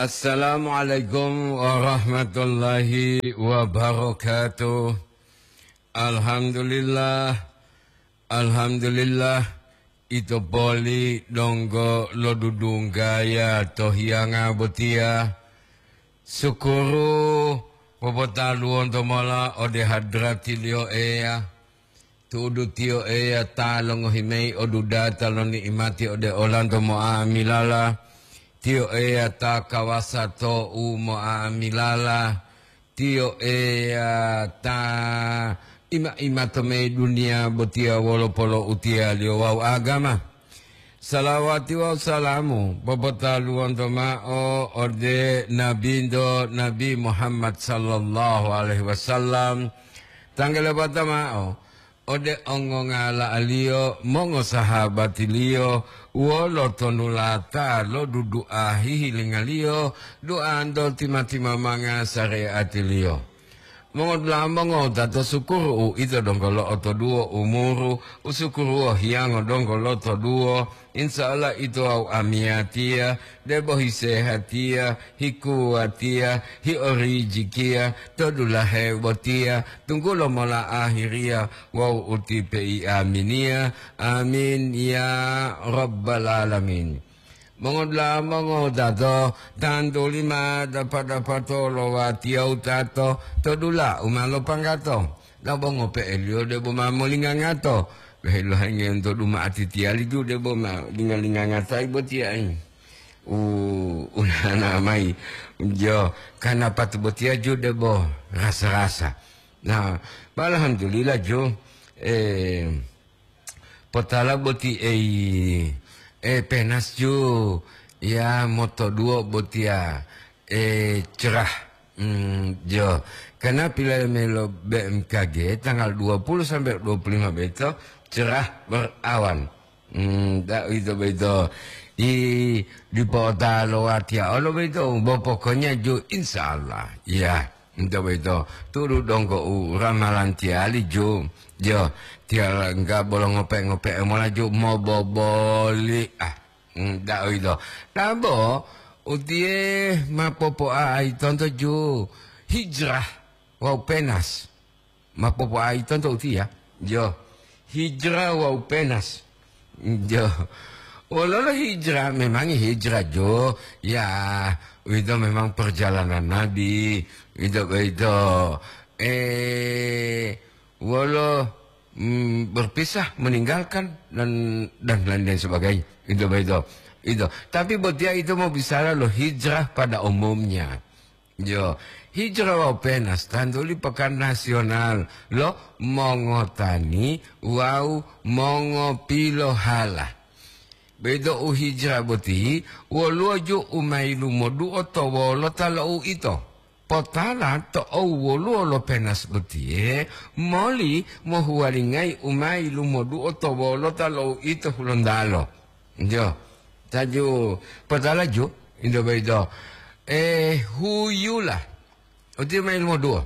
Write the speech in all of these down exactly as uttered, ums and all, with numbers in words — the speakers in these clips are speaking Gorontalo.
Assalamualaikum warahmatullahi wabarakatuh. Alhamdulillah, alhamdulillah, ito poli donggo lodudunggaya to hiyanga botiya. Sukuru popotaluwonto mola ode hadratiliyo Eya. Tu'udu Tiyo Eya ta longohi mayi o dudata lo ni'imati ode olanto mo'amilala. Tiyo Eya ta kawasa to'u mo'amilala. Tiyo Eya ta ima-imato mayi duniya botiya wolo polo'utiyaliyo wawu agama. Salawati wawu salamu popotaluwonto ma'o ode Nabinto Nabi Muhammad sallallahu alaihi wasallam, tanggalabata ma'o ode ongongala'aliyo, mongosahabatiliyo, wolo tonulata lo dudu'a hihilingaliyo, duanto tima-timamanga sareatiliyo. Mongodula'a mongowutato, sukuru uwito donggo lo'otoduwo umuru, usukuruwo hiyango donggo lotoduwo, insya Allah ito wawu amiyatiya, debo hisehatiya, hikuwatiya, hiorijikiya, to dulahe botiya, tunggulo mola ahiriya wawu utipe'i aminiya. Amin ya rabbal alamin. Mongodula'a mongowutato, tantuli ma dapa-dapato lo watiya wutato to dula u ma lopanggato. Dabo ngope'eliyo debo ma molingangato. Lohe-lohengiyo to duma atitiyali ju debo ma linga-lingangatayi botiya, ai. U, unana mayi. Jo, kana patu botiya ju debo rasa-rasa. Nah, alhamdulillah ju, eh, potala boti ei, eh, penas ju, ya motoduwo botiya, eh, cerah. Hmm, jo. Karena pilayi melo B M K G tanggal dua puluh sampai dua puluh lima beto cerah berawan. Hmm, da, ito boyito. I, dipo ta lo watiya olo boyito, bo pokoknya ju insya Allah. Ya, ito boyito. Tulu donggo u ramalan tiyali ju. Jo, tiyala enggak bolo ngope-ngope mola ju moboboli. Ah, hmm, da, ito. Tabo, utiye ma popo'ai tonto ju hijrah wawu penas. Ma popo'ai tonto utiya, jo, hijrah wawu penas. Jo, wololo hijrah, memang hijrah jo, ya, itu memang perjalanan Nabi, itu, itu, eh, wolo, mm, berpisah, meninggalkan, dan, dan lain-lain sebagainya. Itu, itu, itu. Tapi botiya itu mau bicara lo hijrah pada umumnya. Jo, hijrah wawu penas tantuli pekan nasional lo mongotani wawu mongopilohala. Bedo u hijrah boti, woluwo ju u ma yilumoduo to wolota lo uito. Potala to owoluwo lo penas botiye, moli mohuwalingayi u ma yilumoduo to wolota lo uito Hulontalo. Jo, taju potala ju, indo boyito, eh, huyula. Uti ma yilumoduo.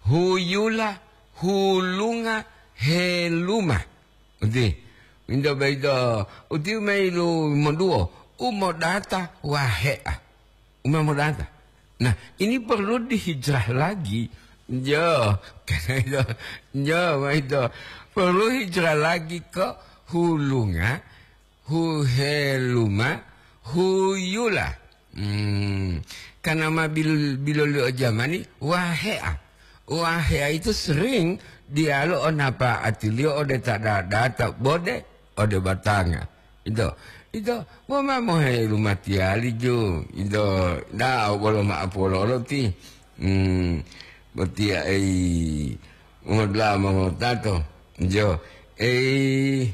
Huyula, hulunga, heluma. Uti, indo boyito, uti ma yilumoduo, umodata wahe'a. Umamodata. Nah, ini perlu dihijrah lagi. Jo, karena itu, jo, ma itu. Perlu hijrah lagi ke hulunga, huheluma, huyula. Hmm, karena ma bil-, biloliyo jamani, wahe'a. Wahe'a itu sering diyalu o napa'atiliyo ode ta data bode ode batanga. Ito, ito, woma mohe lumatiyali ju. Ito, da'o bolo ma'apololo ti. Hmm, botiya ei, umodla mongotato. Jo, ei,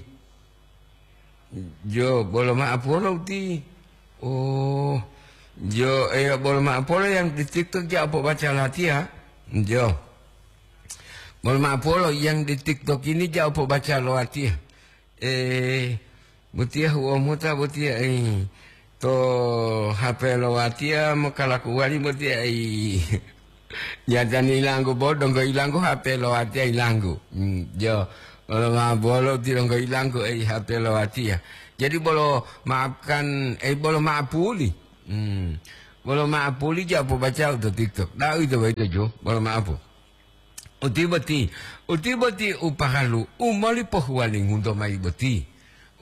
jo, bolo ma'apolo ti. Oh, jo, eh, bolo ma'apolo yang di TikTok ja pobaca latiya. Jo. Bolo ma'apolo yang di TikTok ini ja pobaca lo latiya. Eh, botiya hu'o mota botiya, eh, to H P lo watiya mokalakuwali botiya, eh. Jatani ilanggu bo, donggo ilanggu H P lo watiya ilanggu. Hmm, jo, bolo ma bolo ti donggo ilanggu, eh, H P lo watiya. Jadi bolo maafkan, eh, bolo maapuli. Hmm. Bolo ma'apuli ja popacao to TikTok. Da'u ito boyito ju, bolo ma'apu. Uti boti, uti boti u paralu, u moli pohuwalingunto mayi boti.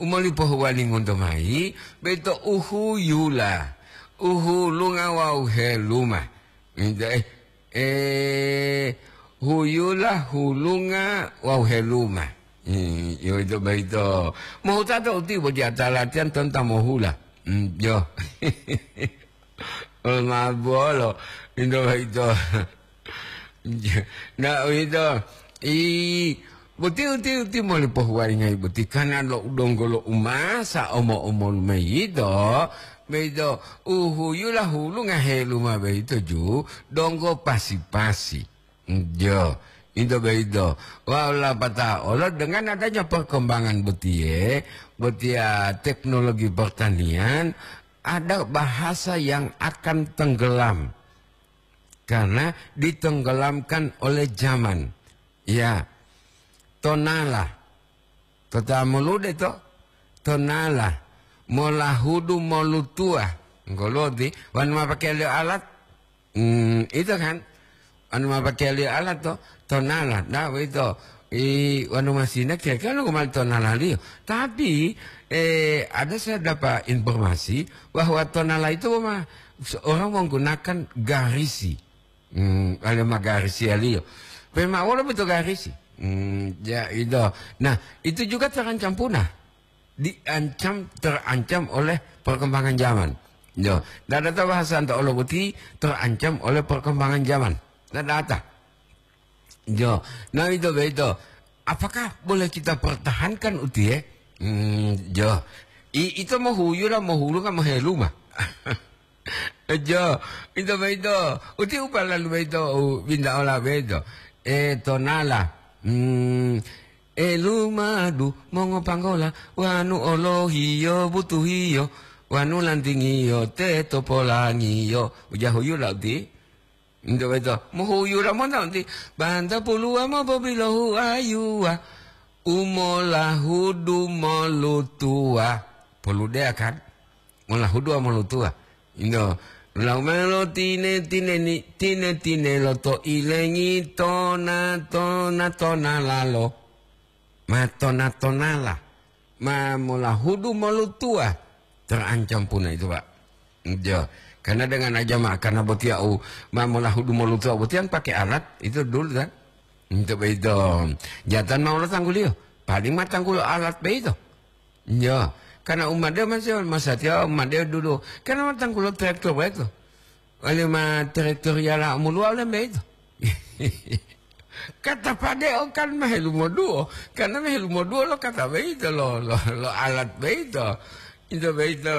U moli pohuwalingunto mayi, boyito u huyula, u hulunga wawu heluma. Ito, eh, eh, huyula, hulunga wawu heluma. Hmm, yo ito boyito. Mohutato uti boti ata latihan tonta mohula. Hmm, yo. Olo ma'o bolo, ito boyito. Na, uwito, i, boti, uti, uti moli pohuwalingayi boti kana lo u donggo lo umasa omo-omolu mayi yito, boyito u huyula hulunga heluma boyito ju donggo pasi-pasi. Jo, ito boyito. Wawu lapatao olo dengan adanya perkembangan botiye, botiya teknologi pertanian, ada bahasa yang akan tenggelam. Karena ditenggelamkan oleh zaman. Ya, tonala. Tota molude to, tonala. Molahudu molutuwa. Ngoloti, wanu ma pakeliyo alat? Hmm, ito kan? Wanu ma pakeliyo alat to, tonala. Nah, begitu. I, wanu masina kira-kira nunggu mali tonalaliyo. Tapi, eh, ada saya dapat informasi bahwa tonala itu mah seorang menggunakan garisi. Hmm, ada ma garisi aliyo. Pema wolo betul garisi. Hmm, ya itu. Nah, itu juga terancam punah. Diancam, terancam oleh perkembangan zaman. Yo, tidak ada bahasa anta Allah boti terancam oleh perkembangan zaman. Tidak ada. Jo, nah itu begitu. Apakah boleh kita pertahankan uti ya? Hmm, jo. I, itu mau huyu lah, mau hulu kan, mau helu mah. Jo, itu begitu. Uti upah lalu begitu, u, binda ola begitu. Eh, tonala. Hmm, eh, lumadu, mongo panggola, wanu olohiyo, butuhiyo, wanu lantingiyo, teto polangiyo. Uja huyu lah uti. Ento boyito, mohuyura monto nti banta puluwa mopobilohu ayuwa, u molahudu molutuwa. Poludeya kan? Molahudu wawu molutuwa. Ino, lau melo tine-tineni, tine-tinelo to ilengi tona-tona-tonalalo. Ma tona-tonala, ma molahudu molutuwa, terancam puna itu, Pak. Jo, karena dengan aja ma, karena botiya u ma molahudu molutuwa botiya pakai alat itu dulu kan. Untuk itu, jatan mau lo tangguliyo, paling ma tanggulo alat beito. Jo, karena umade masih masatiya umade dulu, karena ma tanggulo traktor beito. Wale ma traktor yala moluwa wale beito. Kata pade'o kan ma helumoduwo, karena ma helumoduwo lo kata boyito, lo, lo, lo alat boyito. Ito boyito.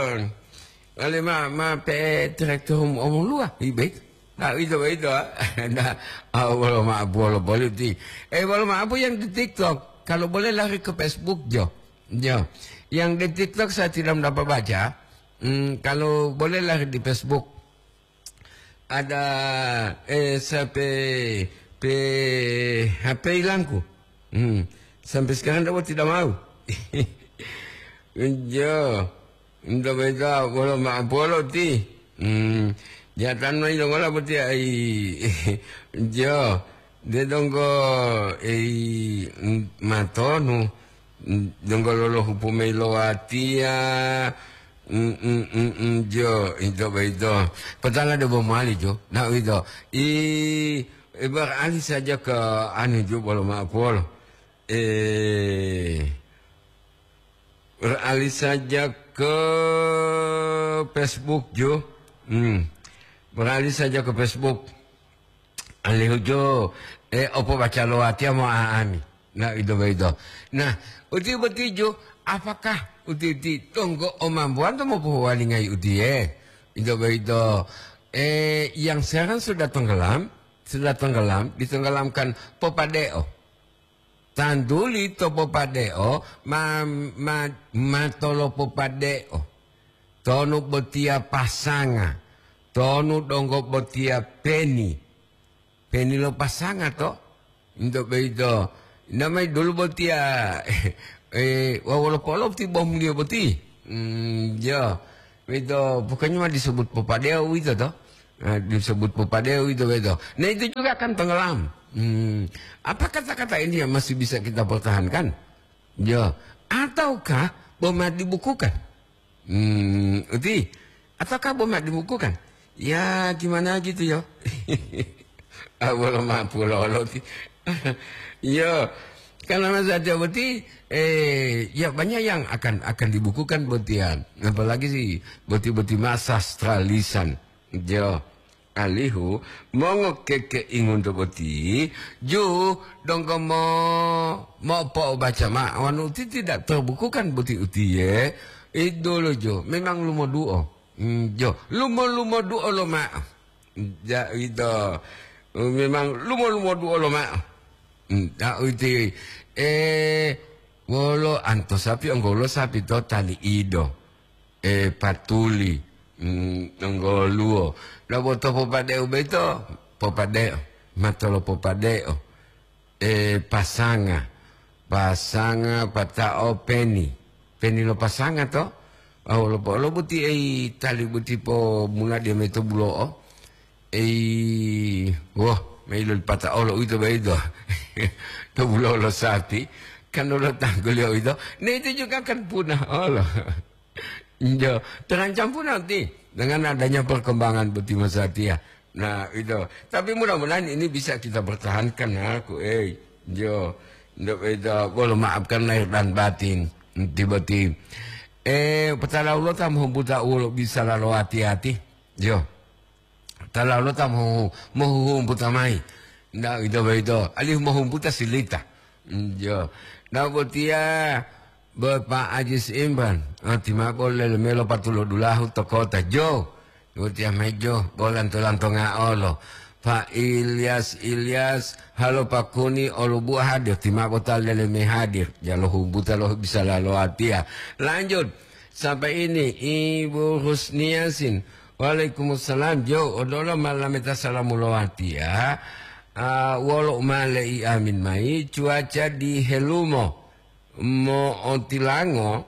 Wale ma, ma pe'e traktor omoluwa, i boyito. Nah, ito boyito, ah. Nah, ah, wolo ma'apu wolo politi. Eh, wolo ma'apu yang di TikTok. Kalau boleh lari ke Facebook, Jo. Jo. Yang di TikTok saya tidak dapat baca. Hmm, kalau boleh lari di Facebook. Ada, eh, sampai pe-, H P hilangku. Hmm. Sampai sekarang dia tidak mau. Jo, nda beta bolo ma polo ti. Hmm. Jatan mai lo ngola boti ai. Jo, de donggo ei, mm, matonu. Mm, donggo lolo hupu mei lo watiya. Mm, mm, mm, mm, jo, ito boyito. Potala de bo mowali, jo. Na uwito. I, i beralih saja ke anu, jo, bolo ma'apolo. Eh, beralih saja ke Facebook, jo. Hmm. Beralih saja ke Facebook. Alihu jo, eh, opo baca lo watiya mo aami. Nah, ito boyito. Nah, uti boti jo, apakah uti-uti tonggo omambuwanto mopohuwalingayi utiye? Ito boyito, eh, yang sekarang sudah tenggelam, sudah tenggelam, ditenggelamkan popade'o. Tantuli to popade'o, ma, ma, matolo popade'o. Tonu botiya pasanga, tonu donggo botiya peni. Peni lo pasanga to? Into boyito. Namai dulu botiya, eh, wawolo polo ti bomuliyo boti? Hmm, jo. Itu pokoknya mah disebut popadeo itu toh. Eh, disebut popadeo itu, itu. Nah, itu juga akan tenggelam. Hmm. Apa kata-kata ini yang masih bisa kita pertahankan? Yo, ataukah boma dibukukan? Hmm, uti. Ataukah boma dibukukan? Ya, gimana gitu yo. Ah, bolo mampu lolo ti. Yo, karena masa dia boti, eh, ya banyak yang akan, akan dibukukan botian. Apalagi si boti-boti masa stralisan. Jo, alihu mongo keke ingunto boti, ju donggo mo, mo po baca ma, wanu uti tidak terbukukan boti utiye, idolo jo, memang lumoduo. Hmm, jo, lumo-lumoduo lo ma. Ja, ito, memang lumo-lumoduo lo ma. Hmm, ta uti, eh, wolo anto sapi, onggolo sapi to tali ido. Eh, patuli, mm, nonggoluwo. Lobo to popadeo boyito, popadeo, matolo popadeo. Eh, pasanga, pasanga pata'o peni, peni lo pasanga to. Oh, lobo, lobo ti ei tali boti po mula dia meto bulo'o. Ei, woh, mailo pata'o lo uwito boyito. To bulo'o lo sapi, kan lo tangguliyo uwito. Nah, itu juga kan punah olo. Jo, terancam pun nanti dengan adanya perkembangan boti masatiya. Nah, itu. Tapi mudah-mudahan ini bisa kita pertahankan, aku, eh. Jo, untuk itu, boleh maafkan lahir dan batin, tiba-tiba. Eh, petala Allah tam humputa ulo bisa lalo hati-hati. Jo. Tala lo ta mohu-, mohuhumputa mayi. Nda ito boyito, alihu mohumputa silita. Njo. Nda botiya, Bapak Ajis Imran. Ah, timabo lele melo patulo dulahu to kota. Jo. Botiya mayi jo, bolanto-lanto nga'olo. Pak Ilyas, Ilyas, halo Pak Kuni, olubuwa hadir. Timabo ta lele me hadir. Jalo humputa lo bisa lalo atiya. Lanjut. Sampai ini, Ibu Husniasin. Waalaikumsalam. Jo, odolo malameta salamu lowatiya. Ah, wolo umale i amin mayi, cuaca di Helumo mo'otilango,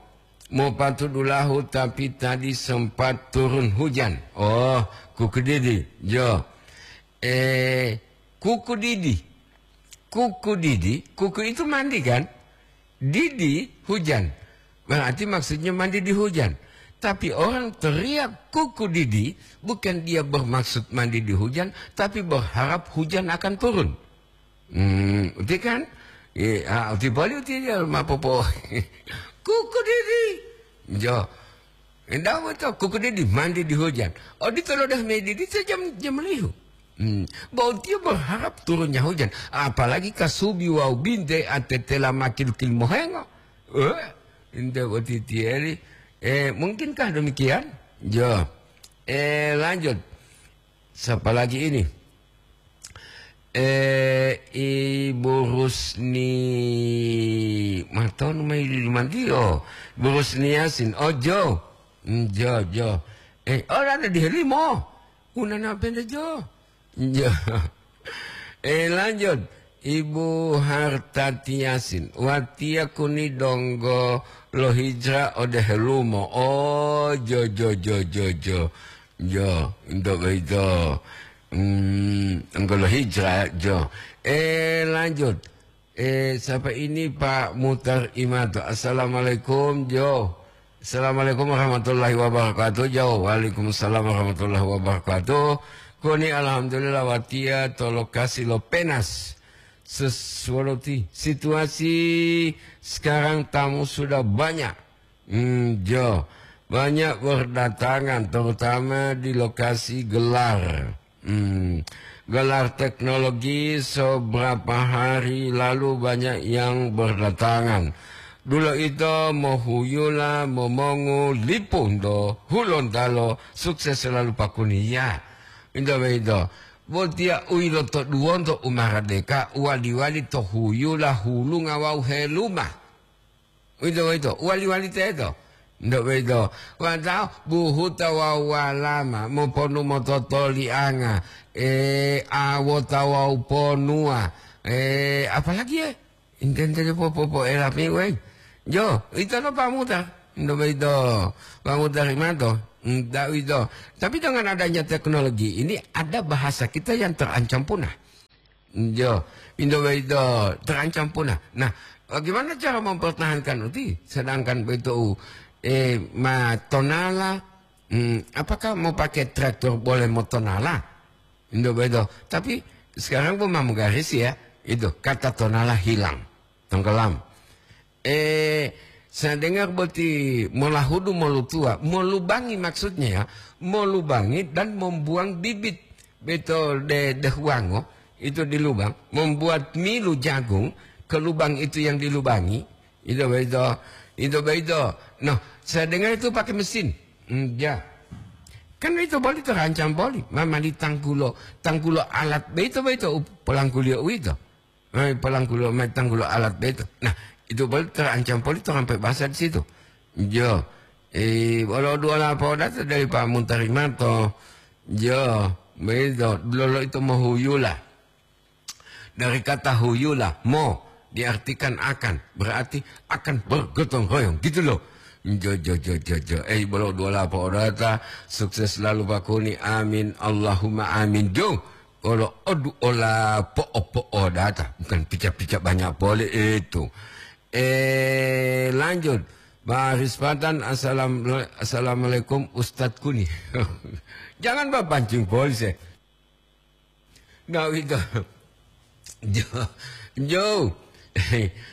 mopatudulahu, tapi tadi sempat turun hujan. Oh, kukudidi. Jo. Eh, kukudidi. Kukudidi, kuku itu mandi kan? Didi hujan. Berarti maksudnya mandi di hujan. Tapi orang teriak kuku didi, bukan dia bermaksud mandi di hujan, tapi berharap hujan akan turun. Hmm, uti kan? Iya, ah, uti bali uti dia ma popo. Kuku didi. Jo. Enggak betul, kuku didi mandi di hujan. Oh, di tolo dah medi di jam, jam lihu. Hmm. Bahwa dia berharap turunnya hujan. Apalagi kasubi wau binte atetela makil-kil mohengo. Eh, ente boti tieri. Eh, mungkinkah demikian? Jo. Eh, lanjut. Siapa lagi ini? Eh, Ibu Rusni. Matonu mai di mantiyo. Ibu Rusni Yasin. Oh, jo. Hmm, jo, jo. Eh, oh, ada di Helimo. Unana pende jo. Jo. Eh, lanjut. Ibu Hartati Yasin. Watiya kuni donggo lo hijrah ode Helumo. Oh, jo, jo, jo, jo, jo. Jo, untuk itu. Hmm, donggo lo hijrah, jo. Eh, lanjut. Eh, siapa ini, Pak Mutar Imato? Assalamualaikum, Jo. Assalamualaikum warahmatullahi wabarakatuh, Jo. Waalaikumsalam warahmatullahi wabarakatuh. Koni alhamdulillah watiya to lokasi lo Penas. Sesuatu ti-, situasi sekarang tamu sudah banyak. Hmm, Jo. Banyak berdatangan, terutama di lokasi gelar. Hmm, gelar teknologi seberapa hari lalu banyak yang berdatangan. Dulo ito mohuyula momongu lipu nto Hulontalo, sukses selalu Pak Kuni. Ya, into beito. Botiya u ilotoduwonto u maradeka, wali-wali to huyula hulunga wawu heluma. Uwito, uwito, wali-wali teto. Ndak uwito, watawa buhuta wawu walama, moponu mototolianga, eh, awota wawu ponuwa, eh, apalagi, eh, intentele popopo'elapi, weng. Jo, ito lo pamuta. Ndo boyito, Pak Mutarimanto, ndak uwito. Tapi dengan adanya teknologi ini, ada bahasa kita yang terancam punah. Yo, indo boyito terancam punah. Nah, bagaimana cara mempertahankan uti? Sedangkan boyito, eh, ma tonala, hmm, apakah mau pakai traktor boleh mau tonala? Indo boyito. Tapi sekarang pun mau garis ya, itu kata tonala hilang, tenggelam. Eh, saya dengar boti molahudu molutua, molubangi maksudnya ya, molubangi dan membuang bibit. Betul de, de huango, itu di lubang, membuat milu jagung ke lubang itu yang dilubangi. Itu begitu, itu begitu. Nah, saya dengar itu pakai mesin. Hmm, ya. Kan itu boleh terancam boleh. Mama di tangkulo, tangkulo alat begitu begitu, pelangkulio itu. Eh, pelangkulo, tangkulo alat beto. Nah, itu poli terancam poli to sampai bahasa di situ. Jo, eh, wolo dua lapo data dari Pak Muntarimanto. Jo, begitu. Lolo itu mohuyula. Dari kata huyula, mo, diartikan akan. Berarti akan bergotong royong. Gitu loh. Jo, jo, jo, jo, jo. Eh, bolo dua lapo data. Sukses selalu Pak Kuni. Amin. Allahumma amin. Jo. Olo odu ola po'o-po'o data, bukan pica-pica banyak pole itu. Eh, lanjut. Pak Rispatan, assalam-, assalamualaikum Ustadz Kuni. Jangan bapancing polse. Nggak itu. Jo, jo.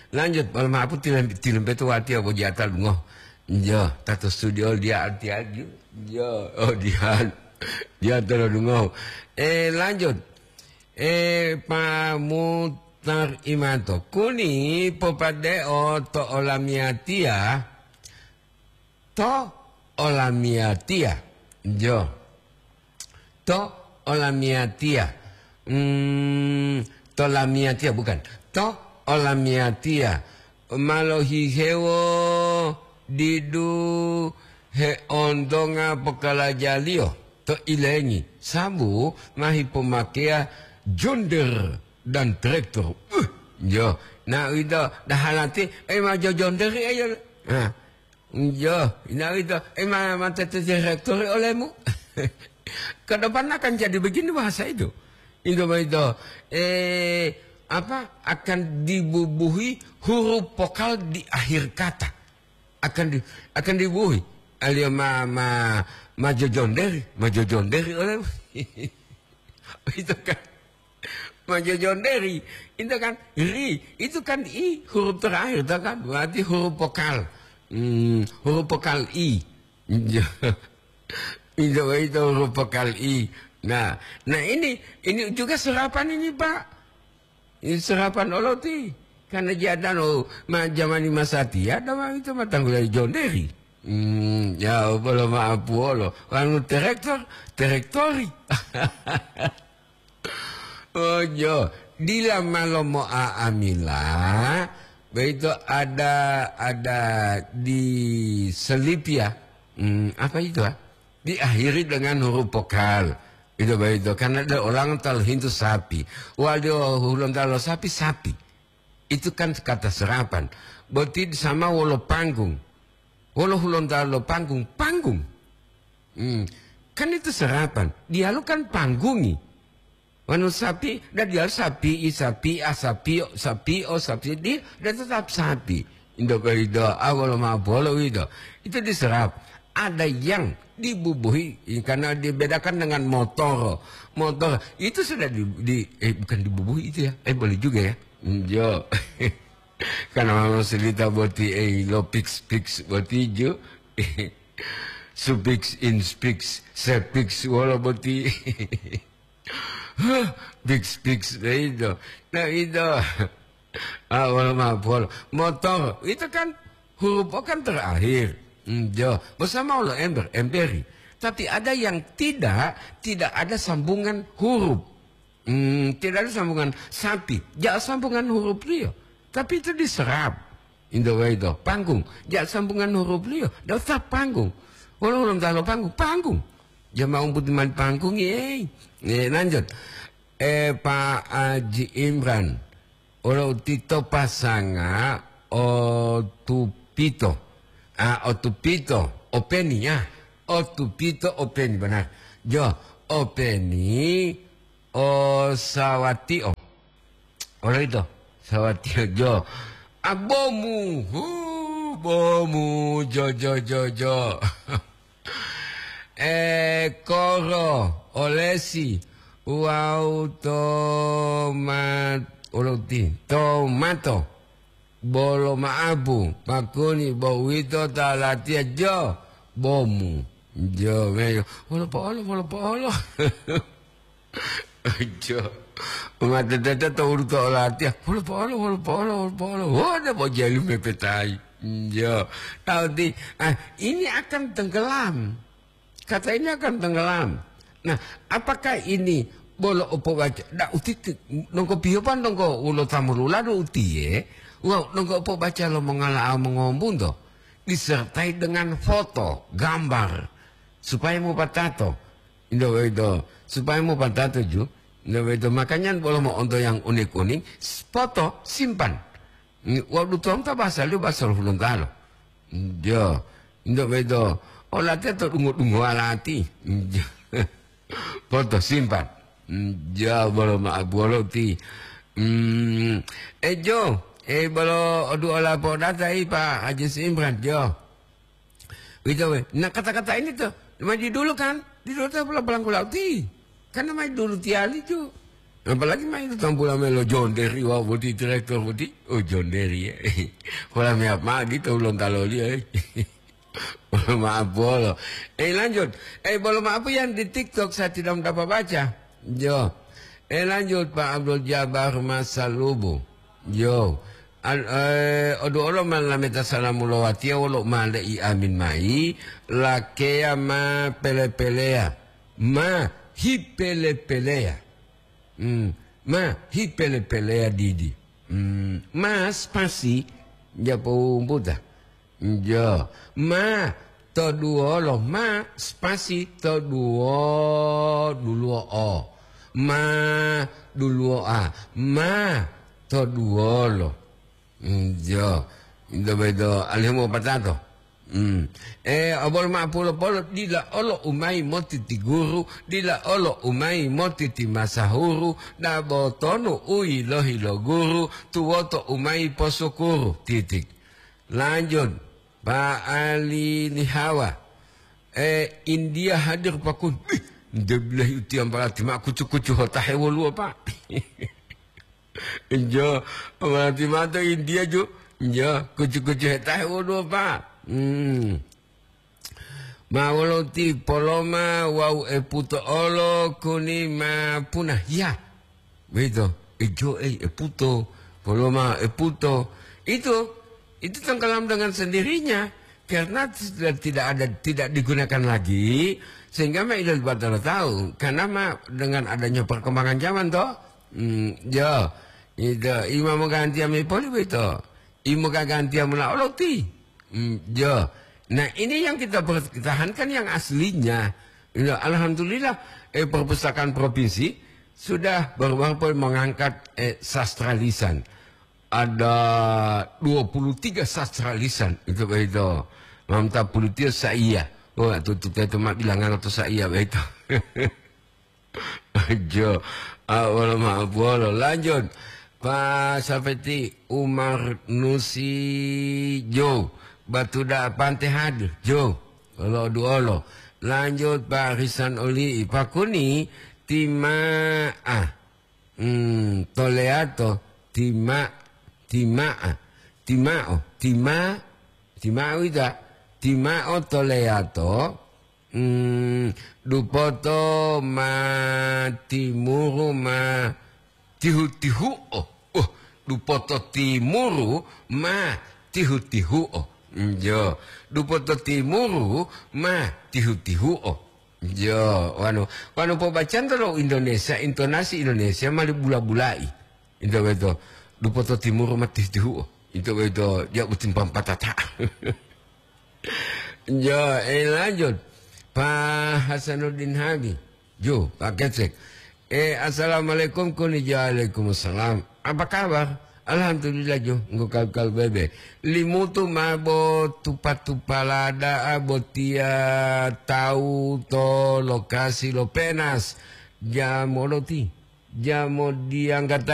Lanjut, malam apa tilam, tilam betu wati apa jata lungo. Jo, tato studio dia arti aju. Jo, oh dia. Dia tolo lungo. Eh, lanjut. Eh, Pak Mutar Imanto. Kuni popadeo to olamiatia. To olamiatia. Jo. To olamiatia. Hmm, to lamiatia bukan. To olamiatia. Malohihewo didu heontonga pokalajaliyo to ilengi. Sabu mahi pomakeya jonder dan traktor. Uh, jo. Nah, ito dahalati, eh, ma jojonderi ayo. Nah, Yo, ina ito, eh, ma-, mate te direktori olemu. Ke depan akan jadi begini bahasa itu. Itu begitu. Eh, apa, akan dibubuhi huruf vokal di akhir kata. Akan di-, akan dibubuhi. Aliyo ma-, ma-, majojonderi, majojonderi olemu. Itu kan. Majojonderi, itu kan ri, itu kan i huruf terakhir, itu kan berarti huruf vokal. Hmm, huruf vokal i. Itu, itu huruf vokal i. Nah, nah ini, ini juga serapan ini, Pak. Ini serapan oloti. Karena jadano ma jamani masatia, dama itu matanggula jonderi. Hmm, ya, bolo maapuolo. Anu terektor, terektori. Oh, jo. Dila malo mo'a'amila, begitu ada, ada di selipia. Hmm, apa itu, ah? Diakhiri dengan huruf vokal. Itu begitu. Karena ada orang talu hintu sapi. Wadio hulontalo sapi, sapi. Itu kan kata serapan. Boti sama wolo panggung. Wolo hulontalo panggung, panggung. Hmm. Kan itu serapan. Dialu kan panggungi. Wanu sapi, dan dia sapi, i sapi, a sapi, o sapi, o sapi, di, dan tetap sapi. Indo ko ido, awal ma bolo ido. Itu diserap. Ada yang dibubuhi, karena dibedakan dengan motor. Motor itu sudah di, di, eh, bukan dibubuhi itu ya. Eh, boleh juga ya. Hmm, jo. Karena memang selita boti, eh, lo pix, pix boti jo. Supix, inspix, sepix, wolo boti. Hah, bix, bix, nah itu. Nah itu. Ah, wala mapol. Motor, itu kan huruf O kan terakhir. Hmm, jo. Bersama Allah ember, emberi. Tapi ada yang tidak, tidak ada sambungan huruf. Hmm, tidak ada sambungan sapi. Ja sambungan huruf liyo. Tapi itu diserap. Indo waito, panggung. Ja sambungan huruf liyo. Daftar panggung. Wala ulun talo panggung, panggung. Ja mau putih man panggung, eh. Eh, lanjut. Eh, Pak Haji Imran. Olo tito pasanga o tupito. A, otupito, openi, ya. Otupito, openi, benar. Jo, openi, osawatio. Olo ito, sawatio, jo. A, bomu, hu, bomu, jo, jo, jo, jo. E, koro, olesi, wawu tomat-, olo ti-, tomato. Bolo ma'apu, pakuni, bo uwito ta latiya jo bomu. Jo, meyo. Wolo po'olo, wolo po'olo. Jo. Umatete to ulu to olatiya. Wolo po'olo, wolo po'olo, wolo po'olo. Wona bo jelu mepetayi. Jo. Tahu ti, ah, ini akan tenggelam. Kata ini akan tenggelam. Nah, apakah ini bolo opobaca? Da utiti, nongko piyopan nongko ulo tamululadu utiye, wawu nongko opobaca lo mongala'a mongombunto, disertai dengan foto, gambar, supaya mopatato. Indo boyito, supaya mopatato ju. Indo boyito, makanya bolo mo'onto yang unik-unik, s-, foto, simpan. Wawu dutomu ta bahasa liyo bahasa lo Hulontalo. Jo, nto boyito, olatiya to dungo-dungowa lati. Jo. Foto simpan. Jo, bolo ma'apu wolo ti. Hmm, e jo, e bolo odu ola podata i Pak Haji Imran, jo. Uwito we. Nah, kata-kata ini to, ma di dulu kan, di dulu to pola-polanggula uti. Kan ma di dulu tiyali ju. Apalagi ma itu tampula melo jonderi wawu boti direktur boti. Oh, jonderi, ya. Pola meyap ma gitu ulon taloli, eh. Bolo ma'apu wolo. Eh, lanjut. Eh, bolo ma'apu yang di TikTok saya tidak dapat baca. Jo. Eh, lanjut, Pak Abdul Jabar Masalubu. Jo. Al-, eh, odu olo ma lameta salamu lo watiya wolo ma le'i amin mayi, lakeya ma pele-peleya, ma hipele-peleya. Hmm, ma hipele-peleya didi. Hmm, ma spasi, japo wumbuta. Jo, ma to duwolo, ma spasi to duwo, duluwo o. Ma duluwo a, ma to duwolo. Mm, jo, ito boyito alihu mopatato. Mm. E, obolo ma'apu wolo polo, dila olo umayi moti ti guru, dila olo umayi moti ti masahuru, dabo tonu u yilohi lo guru, tuwoto umayi posukuru, titik. Lanjut, Pak Ali Lihawa. E, India hadir pakun. Ih, ndebilahi utiya mbalati ma kucu-kucu hotahe woluwo, Pak. Jo, mbalati ma to India ju. Jo, kucu-kucu hetahe woluwo, Pak. Hmm. Ma wolo ti Poloma wawu Eputo olo kuni ma punah. Ya. Begitu. Ejo, eh, Eputo. Poloma, Eputo. Itu, itu tenggelam dengan sendirinya. Karena sudah tidak ada, tidak digunakan lagi. Sehingga ma ilo batalo tahu. Karena ma dengan adanya perkembangan zaman toh. Hmm, ya. Itu, ima mogantiya mayi poli boyito. Imo gagantiya mola oloti. Hmm, ya. Nah, ini yang kita pertahankan yang aslinya. Ya, alhamdulillah, eh, perpustakaan provinsi sudah baru-baru pun mengangkat, eh, sastra lisan. Ada dua puluh tiga sastra lisan. Itu begitu. Mamta puluh tiga saya. Oh, itu, itu, itu, itu, bilangan atau saya begitu. Jo, ah, wolo ma'apu wolo. Lanjut. Pak Safeti Umar Nusi Jo. Batu da pante hadir. Jo. Wolo duolo. Lanjut Pak Risan Oli. Pakuni tima'a. Hmm, toleato. Tima, tima'a. Tima'o. Tima, tima'o ita. Tima'o toleato. Hmm, dupoto ma timuru ma tihu-tihu'o. Uh, dupoto timuru ma tihu-tihu'o. Hmm, jo. Dupoto timuru ma tihu-tihu'o. Jo, wanu, wanu pobacanto lo Indonesia, intonasi Indonesia mali bula-bulai. Ito beto, dupoto timuru ma tihu-tihu'o. Ito beto, ja utimpang patata. Jo, eh, lanjut. Pak Hasanuddin Habi. Jo, Pak Kecek. Eh, assalamualaikum, kuni. Waalaikumsalam. Apa kabar? Alhamdulillah jo, nggo kal-kal bebe. Limutu ma bo tupa-tupala da'a botiya tawu to lokasi lo Penas. Jamoloti, jamodiyanggata